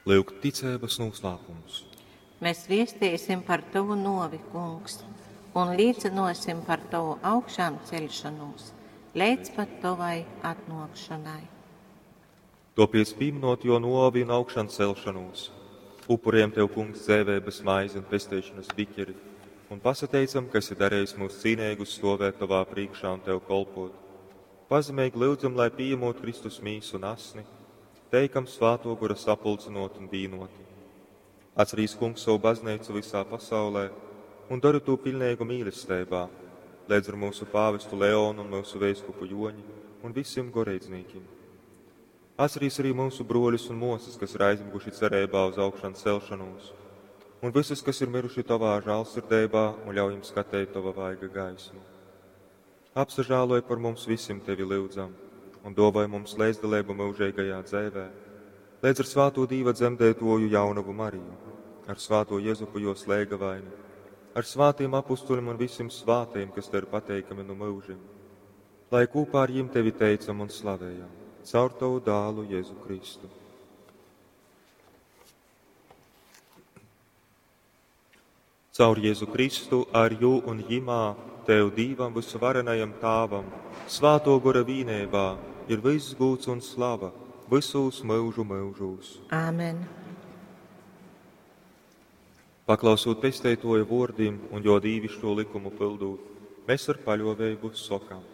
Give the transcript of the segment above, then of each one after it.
Lyuk ticeibas noslēpums. Mēs viestīsim par tavu novi, kungs, un līdzinosim par tavu augšām ceļšanos, līdz pat tavai atnākšanai. Topiec pieminot jo novi un augšām celšanos, upuriem tev, kungs, dzēvēbas maizi un pesteišanas biķeri, un pasateicam, ka esi darījis mūs cīnīgus stovēt tavā priekšā un tev kolpot. Pazemīgi lūdzam, lai pieņemot Kristus mīsu un asni, teikam svāto gura sapulcinot un vīnoti. Atcerīs, kungs, savu baznīcu visā pasaulē un dari to pilnīgu mīlestībā, līdz ar mūsu pāvestu Leonu un mūsu vēskupu Joņi un visiem goreidznīkiem. Atcerīs arī mūsu broļus un mosas, kas ir aizmiguši cerībā uz augšanu celšanos, un visus, kas ir miruši tavā žālsirdībā un ļauj jums skatīt tava vaiga gaismu. Apsažāloj par mums visiem tevi lūdzam un dāvāj mums līdzdalību mūžīgajā dzēvē, līdz ar svāto Dīva dzemdētoju jaunavu Mariju, ar svāto Jezupu jo slēgavaini, ar svātiem apustuļiem un visiem svātiem, kas tev ir pateikami no mūžiem, lai kopā ar jiem tevi teicam un slavējam, caur tavu dālu Jēzu Kristu. Caur Jēzu Kristu, ar jū un jimā, Tev Dīvam visuvarenajam Tāvam, svāto gora vīnībā, ir viss gūts un slava visos mūžu mūžos. Āmen. Paklausot pesteitoja vōrdim un jo dīvišķo likumu pildūt, mēs ar paļovēbu sokam.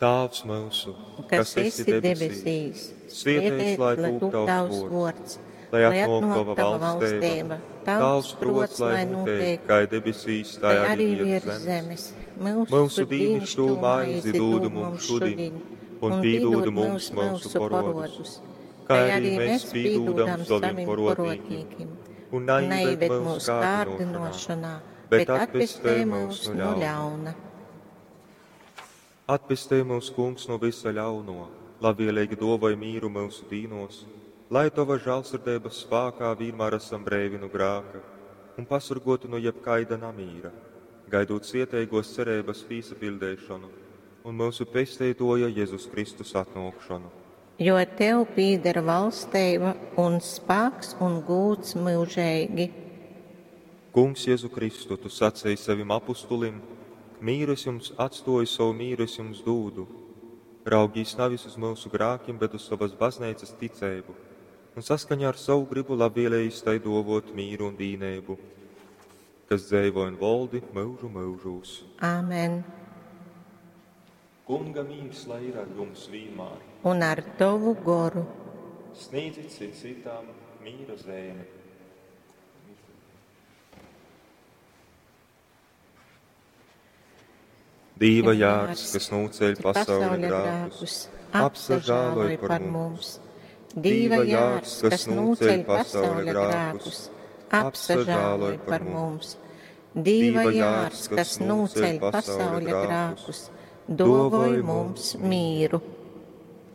Tāvs mūsu, Kas esi debesīs, svietēts, lai tūp tavs vārds, lai atnāk tava valstība, tavs prots, lai notiek, kā debesīs, tā tai arī virs zemes. Mūsu dīnišķo maizi dūdu mums šodien, un pīdūdu mums mūsu porodus, kā arī mēs pīdūdam saviem porodnīkim, un neieved mūsu kārdinošanā, bet atpestē mūs no ļauna. Atpestē mūs, kungs, no visa ļauno, labvēlīgi dovai mīru mūsu dīnos, lai tava žālsirdības spākā vienmēr esam breivi no grāka un pasargoti no jebkaida namīra, gaidot cietīgos cerības pīsapildēšanu un mūsu pesteitoja Jēzus Kristus atnākšanu. Jo tev pīdera valstība un spēks un gūts mūžīgi. Kungs Jēzu Kristu, tu sacīji savim apustulim, mīru es jums atstoju, savu mīru es jums dūdu. Raugīs nevis uz mūsu grākiem, bet uz savas baznīcas ticību, un saskaņā ar savu gribu labvēlējis tai dovot mīru un vīnēbu, kas dzēvo un voldi mūžu mūžūs. Āmen. Kunga mīrs, lai ir ar jums vienmēr. Un ar tavu goru. Sniedzit cit citam mīra zēni. Dīva jārs, kas nūceļ pasaules grākus, apsažāloj par mums. Dīva jārs, kas nūceļ pasaules grākus, apsažāloj par mums. Dīva jārs, kas nūceļ pasaules grākus, dovoj mums mīru.